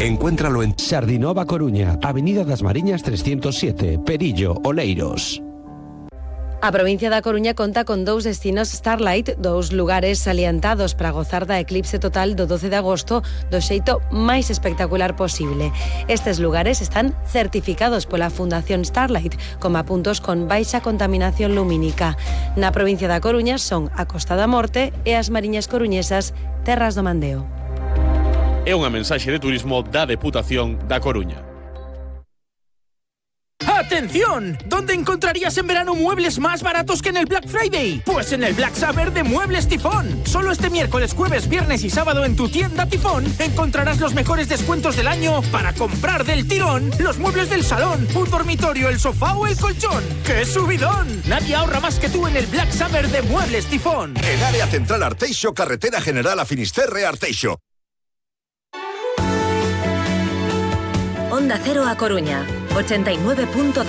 Encuéntralo en Sardinova Coruña, Avenida das Mariñas 307, Perillo, Oleiros. A provincia da Coruña conta con 2 destinos Starlight, 2 lugares salientados para gozar da eclipse total do 12 de agosto do xeito máis espectacular posible. Estes lugares están certificados pola Fundación Starlight como puntos con baixa contaminación lumínica. Na provincia da Coruña son a Costa da Morte e as Mariñas Coruñesas, Terras do Mandeo. É unha mensaxe de turismo da Deputación da Coruña. ¡Atención! ¿Dónde encontrarías en verano muebles más baratos que en el Black Friday? Pues en el Black Summer de Muebles Tifón. Solo este miércoles, jueves, viernes y sábado en tu tienda Tifón encontrarás los mejores descuentos del año para comprar del tirón los muebles del salón, un dormitorio, el sofá o el colchón. ¡Qué subidón! Nadie ahorra más que tú en el Black Summer de Muebles Tifón. En área central Arteixo, carretera general a Finisterre Arteixo. Onda Cero a Coruña, 89.2.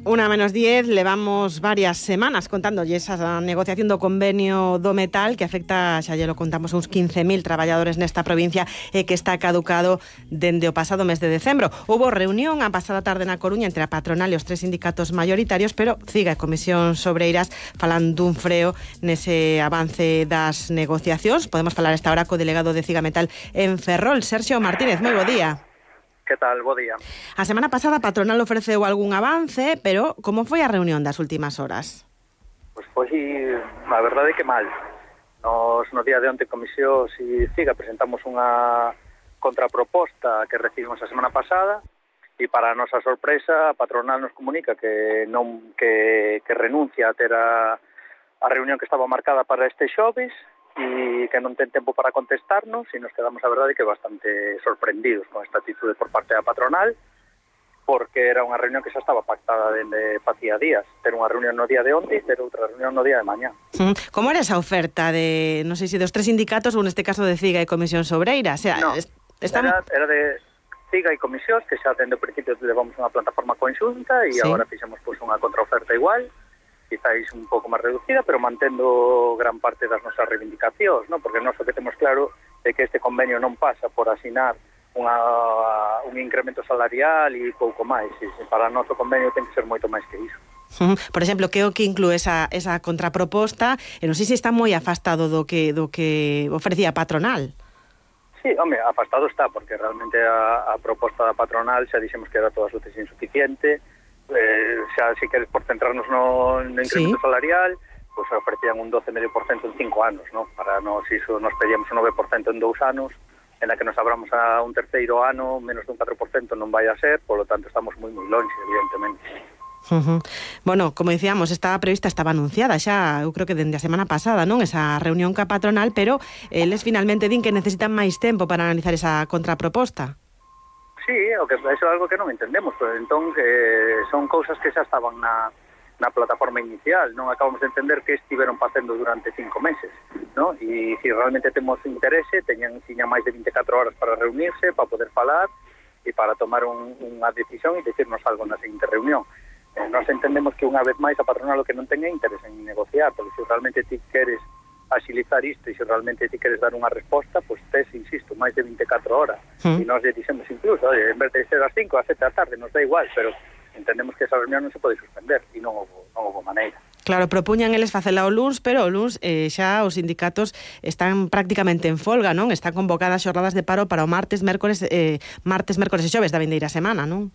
Una menos 10, levamos varias semanas contándolles a negociación do convenio do metal que afecta, xa lle lo contamos, uns 15.000 traballadores nesta provincia e que está caducado dende o pasado mes de decembro. Houbo reunión a pasada tarde na Coruña entre a patronal e os 3 sindicatos maioritarios, pero CIGA e Comisións Obreiras falan dun freo nese avance das negociacións. Podemos falar esta hora co delegado de CIGA Metal en Ferrol, Sergio Martínez. Moi bo día. Que tal? Bo día. A semana pasada a patronal ofreceu algún avance, pero como foi a reunión das últimas horas? Pois foi, a verdade é que mal. Nos no día de onte Comisión e CIGA presentamos unha contraproposta que recibimos a semana pasada e para a nosa sorpresa a patronal nos comunica que non que renuncia a ter a reunión que estaba marcada para este xoves e que non ten tempo para contestarnos e nos quedamos, a verdade, que bastante sorprendidos con esta atitude por parte da patronal, porque era unha reunión que xa estaba pactada dende facía días, ter unha reunión no día de onte e ter outra reunión no día de mañá. Como era esa oferta de, non sei se dos 3 sindicatos ou neste caso de CIGA e Comisións Obreiras? O sea, no, era de CIGA e Comisións, que xa dende o principio levamos unha plataforma conxunta e agora fixemos unha contraoferta igual, quizáis un pouco máis reducida, pero mantendo gran parte das nosas reivindicacións, ¿no? Porque nós o que temos claro é que este convenio non pasa por asinar un incremento salarial e pouco máis. Para o noso convenio ten que ser moito máis que iso. Por exemplo, que o que inclúe esa contraproposta, e non sei se está moi afastado do que ofrecía a patronal. Sí, home, afastado está, porque realmente a proposta da patronal xa dixemos que era todas as veces insuficiente. Xa, se queres, por centrarnos no incremento salarial, pues ofrecían un 12,5% en 5 anos, ¿no? Para nos iso nos pedíamos un 9% en 2 anos, en la que nos abramos a un terceiro ano, menos dun 4% non vai a ser, polo tanto estamos moi longe, evidentemente. Bueno, como dicíamos, estaba prevista, estaba anunciada xa, eu creo que dende a semana pasada, non? Esa reunión ca patronal, pero eles finalmente din que necesitan máis tempo para analizar esa contraproposta. Sí, o que eso é algo que non entendemos, pero entón son cousas que xa estaban na plataforma inicial, non acabamos de entender que estiveron facendo durante 5 meses, ¿no? E se realmente temos interese, tiñan máis de 24 horas para reunirse, para poder falar e para tomar unha decisión e decirnos algo na seguinte reunión. Nós entendemos que unha vez máis a patronal o que non ten é interese en negociar, porque se realmente ti queres agilizar isto e se realmente ti queres dar unha resposta, pois tes, insisto, máis de 24 horas. E nós lle dixemos incluso, en vez de ser as 5, as 7 da tarde, nos dá igual, pero entendemos que esa reunión non se pode suspender e non houve maneira. Claro, propuñan eles facela o luns, pero o luns xa os sindicatos están prácticamente en folga, non? Están convocadas xornadas de paro para o martes, mércores e xoves da vindeira semana, non?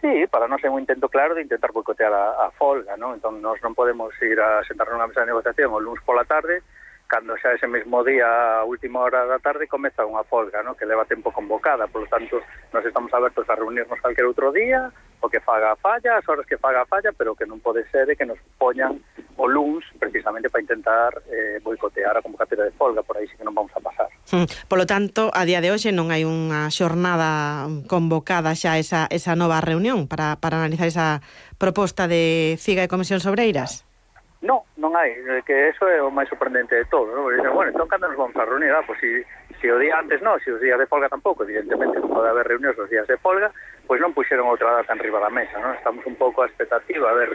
Sí, para nós é un intento claro de intentar boicotear a folga, non? Entón, nós non podemos ir a sentarnos nunha mesa de negociación o luns pola tarde, cando xa ese mesmo día, a última hora da tarde, comeza unha folga, ¿no? Que leva tempo convocada, por lo tanto, nos estamos abertos a reunirnos calquer outro día, o que faga a falla, as horas que faga a falla, pero que non pode ser que nos poñan o luns precisamente para intentar boicotear a convocatoria de folga, por aí sí que non vamos a pasar. Polo tanto, a día de hoxe non hai unha xornada convocada xa esa nova reunión para analizar esa proposta de CIGA e Comisións Obreiras? Non hai, que eso é o máis sorprendente de todo, ¿no? Bueno, entón cando nos vamos a reunir? Pois se o día antes non, se os días de folga tampouco, evidentemente non pode haber reunións os días de folga, pois non puxeron outra data en riba da mesa, ¿no? Estamos un pouco a expectativa a ver